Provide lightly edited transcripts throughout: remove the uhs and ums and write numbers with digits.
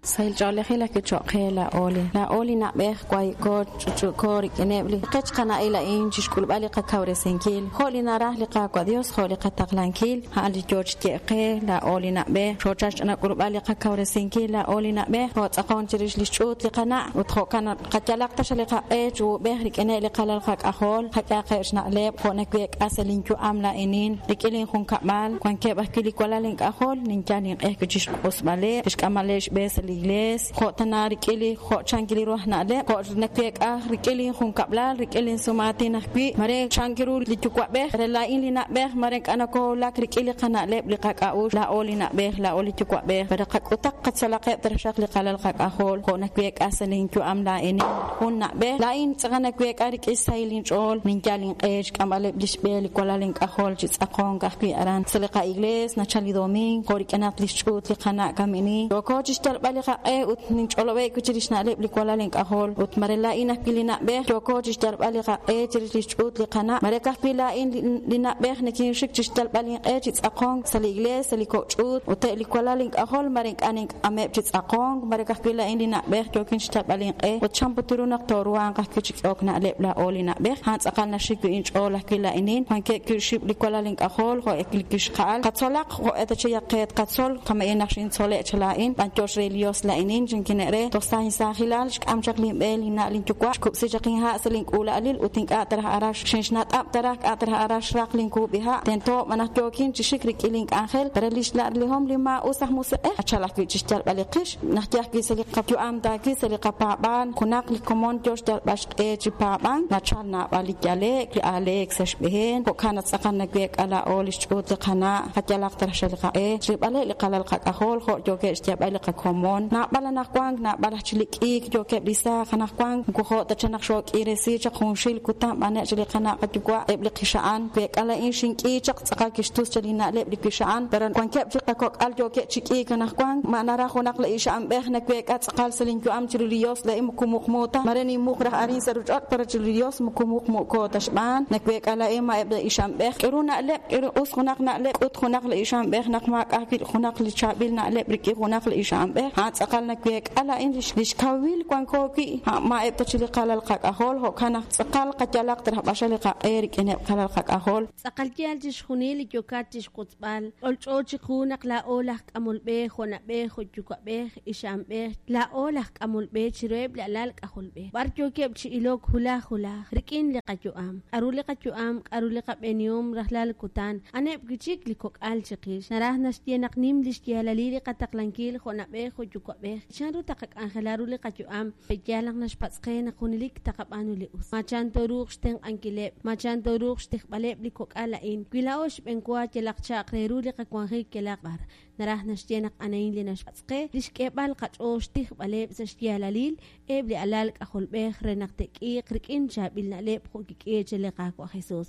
Sahil ch'oolejil ajwi' cho'q qe laa'o li laa'o li na'b'ej wahi'ko ch'uch'u'ko rik'ineb' li qech qana'il a'in chi xk'ulb'al li qakawresinkil jo' li naraj li Qaawa' Dios jo' li qataqlankil a'an li yoo chi ye'k qe laa'o li na'b'ej xoochal xch'inak'ulb'al li qakawresinkil laa'o li na'b'ej kootz'aqon chirix li xch'uut li qana' ut jo'kan naq qayalaq ta li qaq'e chi uub'ej rik'ineb' li qalal qak'ajol qak'ehaqeb' xna'leb' jo' naweek'a sa' linyu'am laa'inin rik'in linjunkab'al wankeb' ajwi' li walal ink'ajol ninyal inq'e ajwi' chi xq'usb'aleb' chi xk'amb'aleb' xb'e sa' li iglees jo' tana rik'in li jo' chankil ru aj na'leb' jo' naweek'a rik'in linjunkab'lal rik'in linsumaatin ajwi' mare chank ru li yuwa'b'ej re laa'in li na'b'ej mare ink'a' nokoowulak rik'in li qana'leb' li qak'a'uxl laa'o li na'b'ej laa'o li yuwa'b'ej pero qak'utaq qatzolaqeb' taxaq li qalal qak'ajol jo' naweek'a sa' linyu'am laa'inin jun na'b'ej laa'in tz'aqal naweek'a rik'in xsahil inch'ool ninyal inq'e xk'amb'aleb' li xb'e li walal ink'ajol chi tz'aqonk ajwi' aran sa' li qa'iglees nachal li domiing jo' rik'inaq li xch'uut li qana' kamini yooko chi xyalb'al li qaq'e ut ninch'olob'e' wi' chirix xna'leb' li walal ink'ajol ut mare laa'in ajwi' li na'b'ej yooko chi xyalb'al li qaq'e chirix li xch'uut li qana' mare ka'ajwi' laa'in li na'b'ej nikinxik chi xyalb'al inq'e chi tz'aqonk sa' li iglees sa' li kok' ch'uut ut eb' li walal ink'ajol mare ink'a' nink'ameb' chi tz'aqonk mare ka'ajwi' laa'in li na'b'ej yookin chi xyalb'al inq'e ut chan put ru naq tooruhanq ajwi' chi k'ehok na'leb' laa'o li na'b'ej a'an tz'aqal naxik wi' inch'ool ajwi' laa'inin wankeb' wi' xib' li walal ink'ajol jo' li wixqa'al qatzolaq jo' eta cheyaq qe tqatzol kama'in naq xintzole' cha laa'in b'anyox re li Dios laa'inin chankine' re toj sa' insaajilal xk'am chaq linb'e linna' linyuwa' xkub'si chaq inha' sa' link'uula'alil ut ink'a' ta raj ara xinxnat'ab' ta raj k'a' ta raj ara xraq linkub'iha' tento b'an naq yookin chi xik rik'in link'anjel re li xla'lihom li maa'us aj musiq'ej nachal ajwi' chi xyalb'al li qix naq ye ajwi' sa' li qayu'am tawi' sa' li qapaab'aal junaq li komon yo xyalb'al xq'e chi paab'ank nachal naab'al li yale'k li aaleek sa' xb'een jo'kan naq tz'aqal naweek'a laa'o li xch'uut li qana' qayalaq ta raj li qaq'e rilb'aleb' li qalal qak'ajol jo' yookeb' xyeeb'al li qakomon naab'al anaqwan naab'al aj chik li k'iik yookeb' li saaj anaqwan moko jo' ta chaq naq xook'iiresi chaq junxil kutan b'aneb' chaq li qana' qayuwa' eb' li qixa'an week'a laa'in xink'i chaq tz'aqal kixtus chaq li na'leb' li wixa'an pero wankeb' chik qakok'al yookeb' chi k'iik anaqwan ma naraj junaq li ixa'anb'ej naweek'a tz'aqal sa' linyu'am chiru li Dios laa'in moko muqmu ta mare ninmuq raj arin sa' ruuchich'och' pero chiru li Dios moko muqmu'ko ta xb'aan naweek'a laa'in ma eb' li ixa'anb'ej k'aru na'leb' k'aru us junaq na'leb' k'ut junaq li ixa'anb'ej naq maak'a' ajwi' junaq li chaab'il na'leb' rik'in junaq li ixa'anb'ej a'an tz'aqal naweek'a laa'in li xkawil wanko wi' ma eb' ta chik li qalal qak'ajol jo'kan naq tz'aqal qayalaq ta raj b'axal li qaq'e rik'ineb' qalal qak'ajol. Tz'aqal yaal chixjunil li yookat chixwotzb'al. Ch'olch'o chiqu naq laa'o laj k'amol b'e jo' na'b'ej jo' yuwa'b'ej, ixa'anb'ej, laa'o laj k'amol b'e chiruheb' li alal k'ajolb'ej. B'ar yookeb' chi ilok hulaj hulaj, rik'in li qayu'am. K'aru li qayu'am, k'aru li qab'eenihom rajlal kutan, aneb' wi' chik li kok'al chiqix. Naraj naxye naq nim lix yaalalil li qataqlankil jo' na'b'ej jo' yuwa'b'ej. Chanru taqak'anjela ru li qayu'am? Pe'yaal naq naxpatz' qe naq junelik taqab'aanu li us? Ma chan tooruuq xtenq'ankileb'? Ma chan tooruuq xtijb'aleb' li kok'al a'in? Wi laa'o xb'enwa yalaq cha'aq re ru li qawanjik yalaq b'ar, naraj naxye naq a'ana'in li naxpatz' qe, li xk'eeb'al qach'ool xtijb'aleb' sa' xyaalalil eb' li alal k'ajolb'ej re naq te'k'iiq rik'in chaab'il na'leb' jo' kik'iik chaq li Qaawa' Jesus.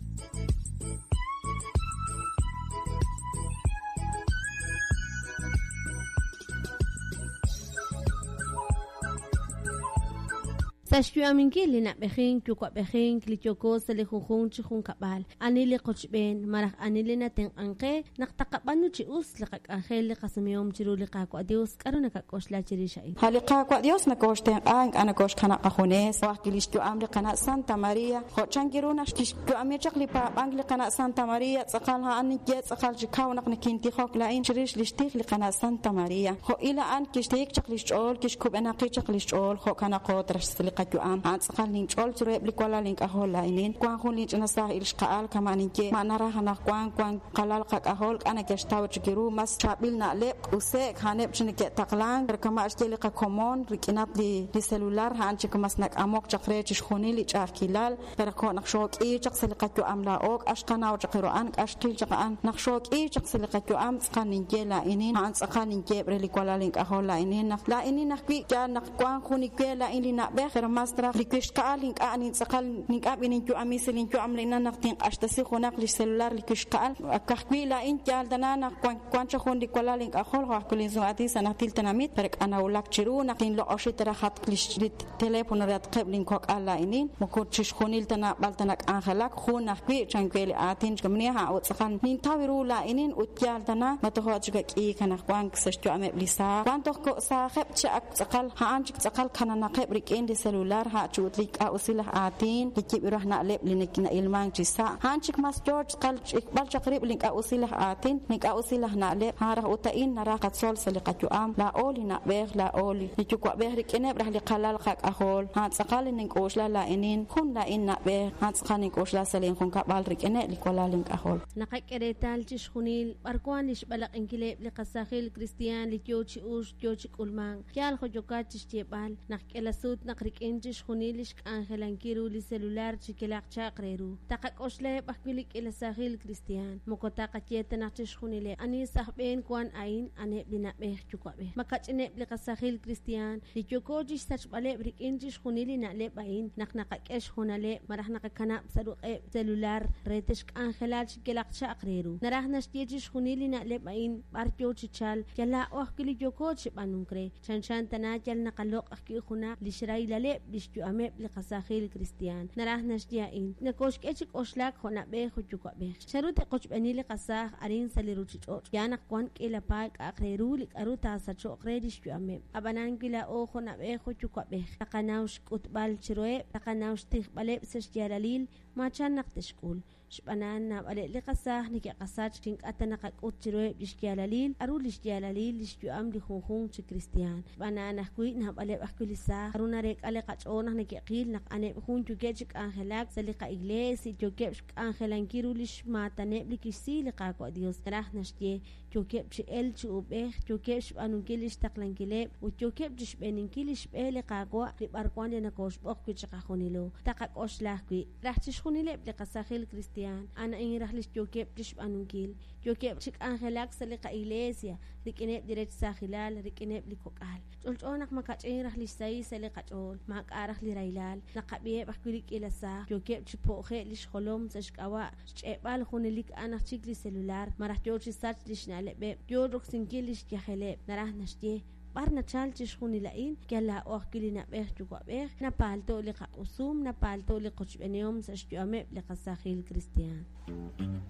Sa' xyu'aminkil li na'b'ejink yuwa'b'ejink li yooko sa' li junjunq chi junkab'al, ani li qochb'een malaj ani li natenq'ank qe naq taqab'aanu chi us li qak'anjel li qasumehom chiru li Qaawa' Dios, k'a'ru nakak'oxla chirix a'in? A' li Qaawa' Dios nokooxtenq'a, ink'a' nokooxkanab' qajunes, jo' ajwi' li xyu'am li qana' Santa Maria, jo' chank ru naq kixyu'ami chaq li paab'ank li qana' Santa Maria, tz'aqal a'an ninye tz'aqal chi kaw naq nikintijok laa'in chirix li xtij li qana' Santa Maria. Jo' il a'an kixtiik chaq li xch'ool, kixkub'enaqi chaq li xch'ool, jo'kan naq jootrax sa' li qayu'am. A'an tz'aqal ninch'ol chiruheb' li walal ink'ajol laa'inin. Wank jun linch'ina saaj ixqa'al kama' ninye, ma naraj anaqwan wank qalal qak'ajol k'a' neke'xtaw chik ru mas chaab'il na'leb', q'use'k, a'aneb' chi neke'taqlank, pero kama' xye li qakomon rik'inatq li celular a'an chik mas nak'amok chaq re chixjunil li ch'a'ajkilal. Pero jo' naq xook'iik chaq sa' li qayu'am laa'o, k'a' xqanaw chaq ru a'an, k'a' xqil chaq a'an. Naq xook'iik chaq sa' li qayu'am, tz'aqal ninye laa'inin, a'an tz'aqal ninyeeb' re li walal ink'ajol laa'inin, naq laa'inin ajwi' yaal naq wank jun li we laa'in li na'b'ej, pero Pero mas raj li wixqa'al ink'a' nintz'aqal ink'a' b'ininyu'ami sa' linyu'am linan naq tinq'axtesi junaq li xcelular li wixqa'al ka'ajwi' laa'in yaal tana naq wan chaq jun li walal ink'ajol jo' ajwi' linsum'aatin sa' najtil tenamit pero k'anawulak chiru naq tinloq'oxi ta raj jatq li teléfono re atqeb' linkok'al laa'inin moko chixjunil ta naab'al ta nak'anjelak jun ajwi' chan we li aatin xkamni ha' ut tz'aqal nintaw ru laa'inin ut yaal tana ma tojo' chik ak'iik anaqwan sa' xyu'ameb' li saaj wan toj ko' saajeb' chi ak tz'aqal a'an chik tz'aqal kananaqeb' rik'in li celular ha' chu ut li k'a'usil laj aatin li yib' ru aj na'leb' li na'ilmank chi sa' a'an chik mas yoo tz'aqal ch'ikb'al chaq rib' li k'a'usil laj aatin li k'a'usil laj na'leb' a'an raj ut a'in naraj qatzol sa' li qayu'am laa'o li na'b'ej laa'o li yuwa'b'ej rik'ineb' raj li qalal qak'ajol a'an tz'aqal li nink'oxla laa'inin jun laa'in na'b'ej a'an tz'aqal nink'oxla sa' linjunkab'al rik'ineb' li walal ink'ajol. Naqak'e reetal chixjunil b'ar wan li xb'alaq'inkileb' li qasajil kristiaan li yoo chi uxk yoo chi k'ulmank. Yaal jo' yokat chixyeeb'al naq k'ela sut naq rik'in chixjunil li xk'anjelankil ru li celular chi kelaq chaq re ru. Taqak'oxlaheb' ajwi' li k'ila sajil kristiaan. Moko taqaye ta naq chixjunileb' ani sa' aj b'een wan a'in aneb' li na'b'ej yuwa'b'ej. Makach'ineb' li qasajil kristiaan li yooko chixsachb'aleb' rik'in chixjunil li na'leb' a'in naq naqak'e xhoonaleb' malaj naqakanab' sa' ruq'eb' celular re texk'anjela chi kelaq chaq re ru. Naraj naxye chixjunil li na'leb' a'in b'ar yoo chi chalk yal laa'o ajwi' li yooko chi b'aanunk re. Chanchan tana yal naqaloq' ajwi' junaq li xrahilaleb' li xyu'ameb' li qasajil kristiaan. Naraj naxye a'in nakoxk'e chi k'oxlak jo' na'b'ej jo' yuwa'b'ej. Chanru te'qochb'eeni li qasaaj arin sa' li ruchich'och'? Yaal naq wan k'iila paay k'a'aq re ru li k'aru taasacho'q re li xyu'ameb'. Ab'anan wi laa'o jo' na'b'ej jo' yuwa'b'ej taqanaw xk'utb'al chiruheb', taqanaw xtijb'aleb' sa' xyaalalil maachan naq te'xk'ul. Xb'aan naab'aleb' li qasaaj neke'qasach chi ink'a' ta naqak'ut chiruheb' li xyaalalil k'aru li xyaalalil li xyu'am li junjunq chi kristiaan. Xb'aan a'an ajwi' naab'aleb' ajwi' li saaj k'aru nareek'a li qach'ool naq neke'qil naq aneb' jun yookeb' chi k'anjelak sa' li qa'iglees yookeb' xk'anjelankil ru li xmaataneb' li kixsi li Qaawa' Dios. Naraj naxye yookeb' chi elk chi uub'ej, yookeb' xb'aanunkil li xtaqlankileb' ut yookeb' chi xb'eeninkil li xb'e li Qaawa' li b'arwan li nakooxb'oq wi' chiqajunilo. Taqak'oxla ajwi' raj chixjunileb' li qasajil kristiaan a'an a'in raj li yookeb' chi xb'aanunkil. Yookeb' chi k'anjelak sa' li qa'iglesia rik'ineb' li rech saajilal, rik'ineb' li kok'al. Ch'olch'o naq makach'in raj li xsahil sa' li qach'ool, maak'a' raj li rahilal. Naqab'iheb' ajwi' li k'iila saaj yookeb' chi po'je' li xjolom sa' xk'ab'a' xch'e'b'al junelik a'an aj chik li celular, malaj yoo chi sach li xna'leb'eb', yoo roksinkil li xyajeleb'. Naraj naxye b'ar nachal chixjunil a'in, yal laa'o ajwi' li na'b'ej yuwa'b'ej, napaalto' li qaq'usum, napaalto' li qochb'enihom sa' xyu'ameb' li qasajil kristiaan.